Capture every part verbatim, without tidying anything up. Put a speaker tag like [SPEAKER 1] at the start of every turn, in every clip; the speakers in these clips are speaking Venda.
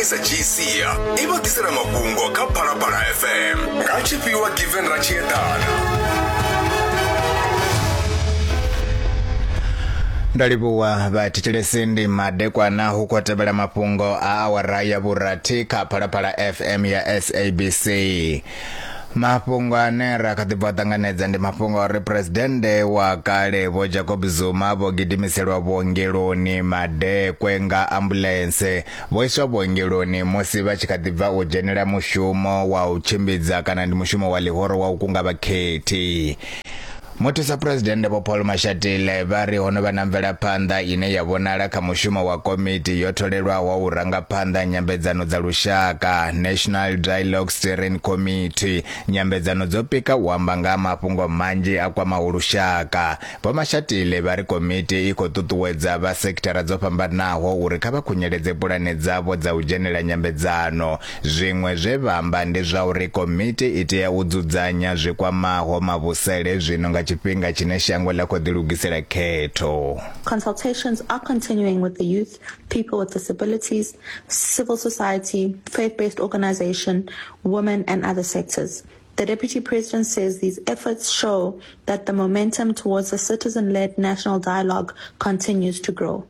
[SPEAKER 1] S G C i vha ḓisela mafhungo kha Phalaphala F M nga tshifhiwa Given Ratshiedana.
[SPEAKER 2] Ndo livhuwa vhathetshelesi, ndi madekwana hu khou tevhela mafhungo a awara ya vhurathi kha Phalaphala F M ya S A B C. Mafhungo ane ra kha ḓi bva ṱanganedza ndi mafhungo a uri presidennde wa kale Vho Jacob Zuma vho gidimiselwa vhuongeloni madekwe nga ambuḽentse. Vho iswa vhuongeloni musi vha tshi kha ḓi bva u dzhenela mushumo wa u tshimbidza kana ndi mushumo wa ḽihoro wa u kunga vhakhethi. Muthusa Presidennde Vho Paul Mashatile vha ri ho no vha na mvelaphanḓa ine ya vhonala kha mushumo wa komiti yo tholelwaho u ranga phanḓa nyambedzano dza lushaka, National Dialogue Steering Committee. Nyambedzano dzo pika u amba nga mafhungo manzhi a kwamaho lushaka. Vho Mashatile vha ri komiti i khou ṱuṱuwedza vha sekithara dzo fhambanaho uri kha vha khunyeledze pulane dzavho dza u dzhenela nyambedzano. Zwiṅwe zwe vha amba ndi zwa uri komiti i tea u dzudzanya zwi kwamaho mavhusele zwino nga tshifhinga tshine shango ḽa khou ḓilugisela khetho.
[SPEAKER 3] Consultations are continuing with the youth, people with disabilities, civil society, faith-based organization, women and other sectors. The Deputy President says these efforts show that the momentum towards a citizen-led national dialogue continues to grow.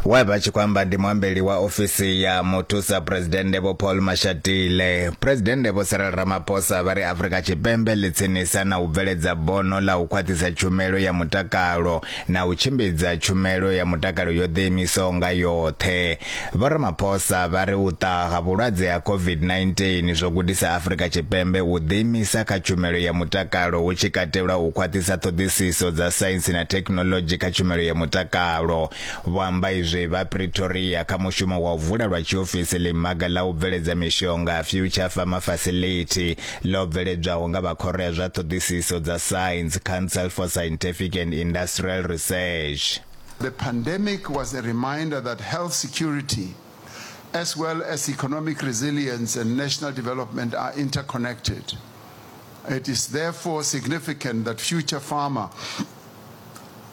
[SPEAKER 2] Wa vha tshi khou amba ndi muambeli wa ofisi ya muthusa presidennde Vho Paul Mashatile. Presidennde Vho Cyril Ramaphosa vha ri Afrika Tshipembe ḽi tsinisa na u bveledza bono ḽa u khwaṱhisa tshumelo ya mutakalo na u tshimbidza tshumelo ya mutakalo yo ḓiimisaho nga yoṱhe. Vho Ramaphosa vha ri u ṱaha ha vhulwadze ha COVID nineteen zwo gudisa Afrika Tshipembe u ḓiimisa kha tshumelo ya mutakalo hu tshi katelwa u khwaṱhisa ṱhoḓisiso dza saintsi na thekhinoḽodzhi kha tshumelo ya mutakalo. Vho amba izwi vha Pretoria kha mushumo wa u vula lwa tshiofisi ḽimaga ḽa u bveledza mishonga Future Pharma Facility ḽo bveledzwaho nga vha khoro ya zwa ṱhoḓisiso dza Science Council for Scientific and Industrial Research.
[SPEAKER 4] The pandemic was a reminder that health security as well as economic resilience and national development are interconnected. It is therefore significant that Future Pharma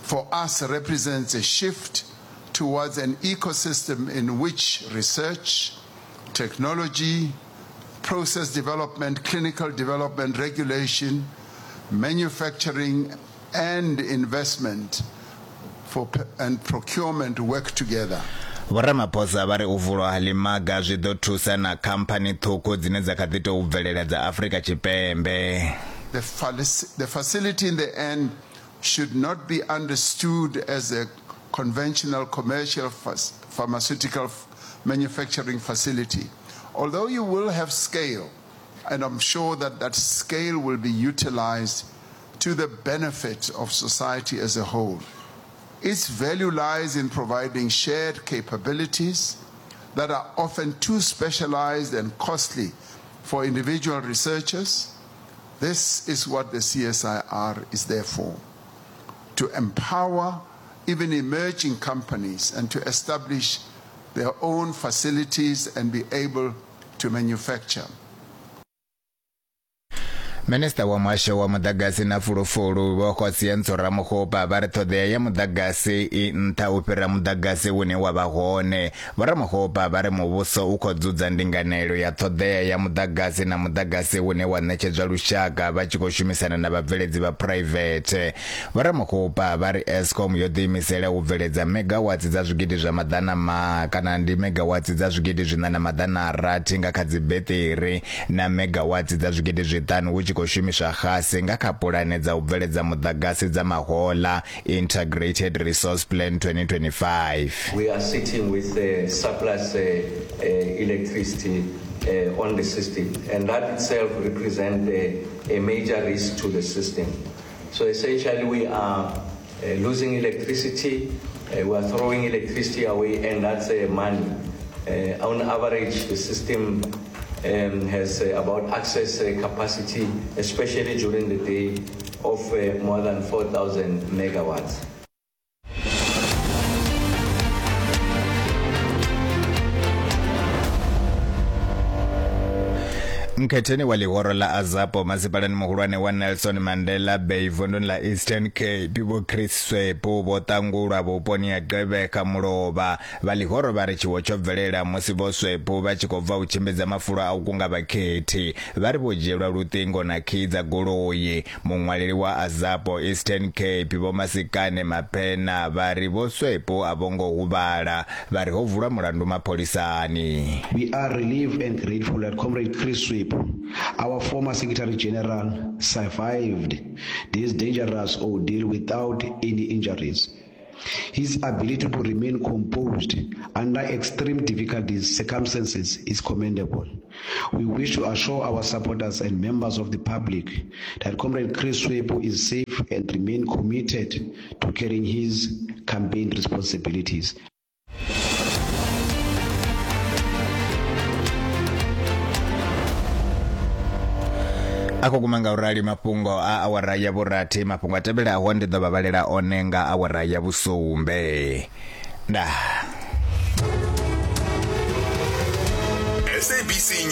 [SPEAKER 4] for us represents a shift towards an ecosystem in which research, technology, process development, clinical development, regulation, manufacturing, and investment for, and procurement work together.
[SPEAKER 2] Vho Ramaphosa vha ri u vulwa ha ḽimaga zwi ḓo thusa na khamphani ṱhukhu dzine dza kha ḓi tou bvelela dza Afrika Tshipembe.
[SPEAKER 4] The, the facility in the end should not be understood as a conventional commercial pharmaceutical manufacturing facility. Although you will have scale, and I'm sure that that scale will be utilized to the benefit of society as a whole. Its value lies in providing shared capabilities that are often too specialized and costly for individual researchers. This is what the C S I R is there for, to empower even emerging companies and to establish their own facilities and be able to manufacture.
[SPEAKER 2] Minista wa muhasho wa muḓagasi na fulufulu Vho Kgosientsho Ramokgopa vha ri ṱhoḓea ya muḓagasi i nṱha u fhira muḓagasi une wa vha hone. Vho Ramokgopa vha ri muvhuso u khou dzudza ndinganelo ya ṱhoḓea ya muḓagasi na muḓagasi une wa ṋetshedzwa lushaka vha tshi khou shumisana na vhabveledzi vha private. Vho Ramokgopa vha ri Eskom yo ḓiimisela u bveledza megawatts dza zwigidi zwa maḓana ma kana ndi megawatts dza zwigidi zwiṋa na maḓana a rathi nga kha dzibeṱiri na megawatts dza zwigidi zwiṱanu hu tshi khou shumiswa xasi nga kha pulane dza u bveledza muḓagasi dza mahola Integrated Resource Plan twenty twenty-five.
[SPEAKER 5] We are sitting with uh, surplus uh, uh, electricity uh, on the system, and that itself represents a, a major risk to the system. So essentially we are uh, losing electricity, uh, we are throwing electricity away, and that's uh, money. Uh, on average, the system Um, has uh, about access uh, capacity, especially during the day, of uh, more than four thousand megawatts.
[SPEAKER 2] Nkhetheni wa ḽihoro ḽa AZAPO masipalani muhulwane wa Nelson Mandela Bay vunduni ḽa Eastern Cape Vho Chris Swepu vho ṱangulwa vhuponi ha Gqeberha mulovha. Vha ḽihoro vha ri tshiwo tsho bvelela musi Vho Swepu vha tshi khou bva u tshimbidza mafulo a u kunga vhakhethi. Vha ri vho dzhielwa luṱingo na khii dza goloi. Muṅwaleli wa AZAPO Eastern Cape Vho Masikane Mapena vha ri Vho Swepu a vho ngo huvhala. Vha ri ho vulwa mulandu mapholisani.
[SPEAKER 6] We are relieved and grateful that Comrade Chris Swepu, our former Secretary General, survived this dangerous ordeal without any injuries. His ability to remain composed under extreme difficult circumstances is commendable. We wish to assure our supporters and members of the public that Comrade Chris Swepu is safe and remain committed to carrying his campaign responsibilities.
[SPEAKER 2] Akho guma nga urali mafhungo a awara ya vhurathi. Mafhungo a tevhelaho ndi ḓo vha vhalela one nga awara ya vhusumbe. Ndaa.
[SPEAKER 1] S A B C.